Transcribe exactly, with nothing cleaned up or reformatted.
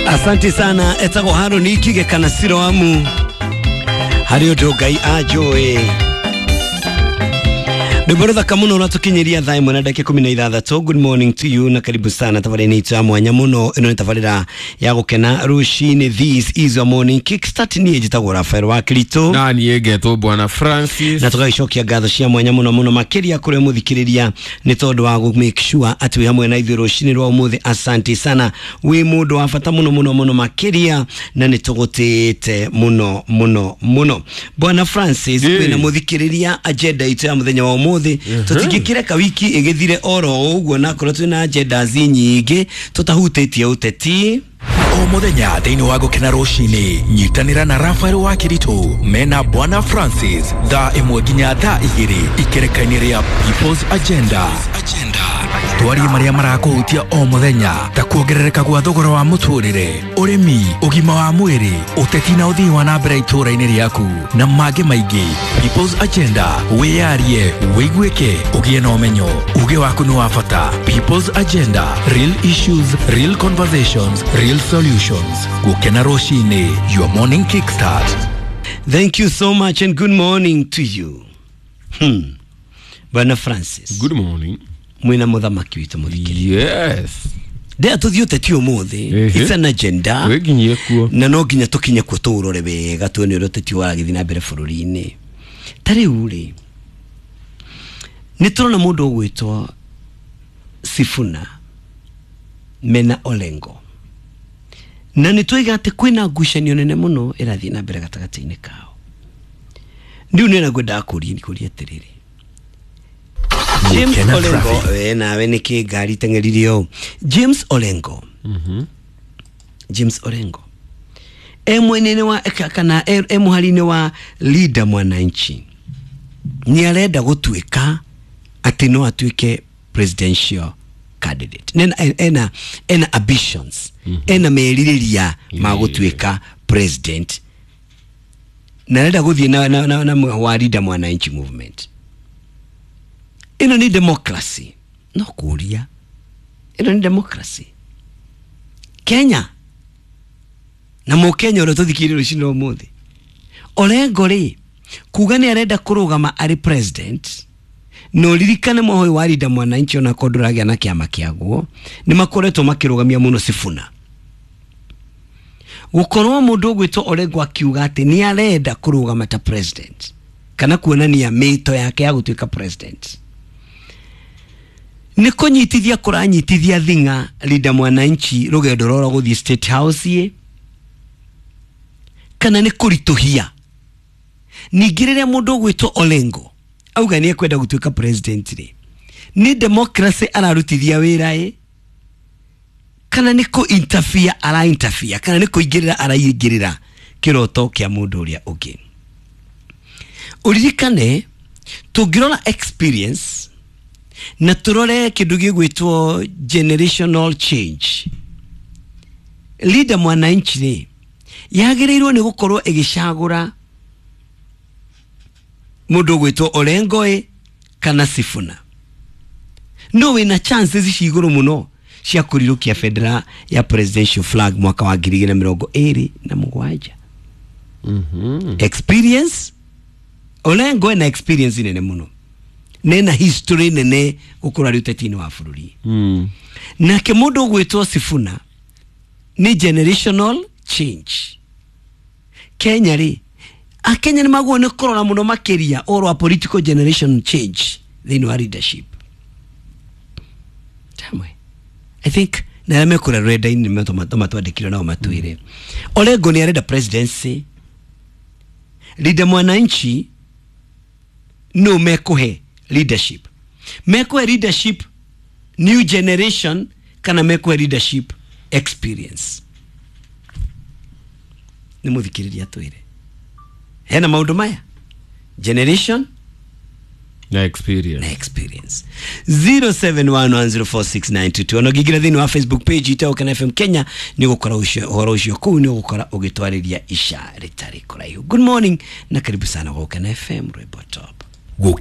Asante sana etagwo Haruni Kige kana Siroamu harĩ ũndũ Ngai anjũĩ. Rwĩmbo rũthaka mũno rwatũkinyĩria thaa ĩmwe na ndagĩka ikũmi na ithathatũ. Good morning to you na karibu sana tabarĩra-inĩ itũ ya mwanya mũno. Ĩno nĩ tabarĩra ya gũkena rũcinĩ. This is your morning kickstart. Niĩ njĩtagwo Rafael wa Kiritũ na niĩ ngetwo Bwana Francis, na tũgagĩcokia ngatho cia mwanya mũno mũno makĩria kũrĩ mũthikĩrĩria nĩ tondũ wa gũ make sure atĩ wĩ hamwe na ithuĩ rũcinĩ rwa ũmũthĩ. Asante sana, wĩ mũndũ wa bata mũno mũno mũno makĩria na nĩ tũgũtĩĩte mũno mũno mũno. Bwana Francis, Ĩĩ. kwĩna mũthikĩrĩria agenda itũ ya mũthenya wa ũmũthĩ. Tũtingĩkĩreka wiki ĩgĩthire oro ũguo na korwo twĩna agendas nyingĩ tũtahutĩtie ũteti. O mũthenya thĩinĩ wa Gũkena Rũcinĩ, nyitanĩra na Rafael wa Kiritũ mena Bwana Francis thaa ĩmwe nginya thaa igĩrĩ ikereka-inĩ rĩa People's Agenda. Twarie marĩa marakũhutia o mũthenya ta kuongerereka gwa thogora wa mũtũrĩre, ũrĩmi, ũgima wa mwĩrĩ, ũteti na ũthii wa na mbere itũũra-inĩ rĩaku na mangĩ maingĩ. People's Agenda, wĩyarie, wĩiguĩke, ũgĩe na ũmenyo. Uge waku nĩ wa bata. People's Agenda, real issues, real conversations, real solutions. Gũkena Rũcinĩ, your morning kickstart. Thank you so much and good morning to you. hmm. Bwana Francis. Good morning. Mwina mũthamaki witũ mũthikĩrĩria. Yes. Ndea tũthiĩ ũteti ũmũthĩ. Ehe. It's an agenda. Twĩnginyie kuo. Na no nginya tũkinye kuo tũũrore wega tuone ũrĩa ũteti waragĩthiĩ na mbere bũrũri-inĩ. Ta rĩu rĩ, nĩ tũrona mũndũ ũgwĩtwo Sifuna mena Olengo, na nĩ twaiga atĩ kwĩna ngucanio nene mũno ĩrathiĩ na mbere gatagatĩ-inĩ kao. Rĩu nĩ na ngwendaga kũria kũria atĩrĩrĩ, James Gũkena Olengo traffic. We nawe nĩkĩ ngari teng'eririe ũũ? James Olengo, James Orengo e mwena-inĩ wa ka- kana e e mũhari-inĩ wa Linda Mwananchi nĩ arenda gũtuĩka atĩ no atuĩke presidential candidate. Nena, ena, ena ambitions, ena merirĩria ma gũtuĩka president na arenda gũthiĩ na, na, na, na wa Linda Mwananchi movement. Ĩno nĩ democracy? No kũria, ĩno nĩ democracy Kenya na mũkenya ũrĩa tũthikĩrĩrie rũcinĩ rwa ũmũthĩ? Orengo rĩ, kuga nĩ arenda kũrũgama arĩ president, na ũririkane mwaho wa Linda Mwananchi ona korwo ndũragĩa na kĩama kĩaguo nĩ makoretwo makĩrũgamia mũno Sifuna. Gũkorwo mũndũ ũgwĩtwo Orengo akiuga atĩ nĩ arenda kũrũgama ta president kana kuonania mĩto yake ya gũtuĩka president nĩ kũnyitithia kũranyitithia thing'a Linda Mwananchi rũgendo rwa gũthiĩ State House ĩ kana nĩ kũritũhia? Ningĩ rĩrĩa mũndũ ũgwĩtwo Olengo auga nĩ ekwenda gũtuĩka president rĩ, nĩ democracy ararutithia wĩra ĩ kana nĩ kũ interfere ara interfere kana nĩ kũingĩrĩra araingĩrĩra kĩroto kĩa mũndũ ũrĩa ũngĩ? Ũririkane tũngĩrora experience na tũrore kĩndũ gĩgwĩtwo generational change, Linda Mwananchi rĩ yagĩrĩirwo nĩ gũkorwo ĩgĩcagũra mũndũ ũgwĩtwo Orengo ĩ kana Sifuna, no wĩna chances ci igũrũ mũno cia kũrirũkia bendera ya presidential flag mwaka wa ngiri igĩrĩ na mĩrongo ĩrĩ na mũgwanja. Experience, Orengo ena experience nene mũno nena history nene gũkorwo arĩ ũteti-inĩ wa bũrũri. Mm. Nake mũndũ ũgwĩtwo Sifuna nĩ generational change. Kenya rĩ, akenya nĩ magwo nĩ kũrora mũno makĩria ũhoro wa political generation change thĩinĩ wa leadership. Tamwe I think na arĩa mekũrĩa rũrenda-inĩ matwandĩkire nao matwĩre Orengo nĩ arenda presidency, Linda Mwananchi no mekũhe leadership, mekũhe leadership new generation kana mekũhe leadership experience? Nĩ mũthikĩrĩria twĩre hena maũndũ maya, generation na experience. Na experience. zero seven one one zero four six nine two two. Ona ũngĩingĩra thĩinĩ wa Facebook page ita Gũkena F M Kenya nĩ ũgũkora ũcio ũhoro ũcio kũu, nĩ ũgũkora ũgĩtwarĩria ica rĩtarĩ kũraihu. Good morning na karibu sana Gũkena F M, rwĩmbo top. Gũkena.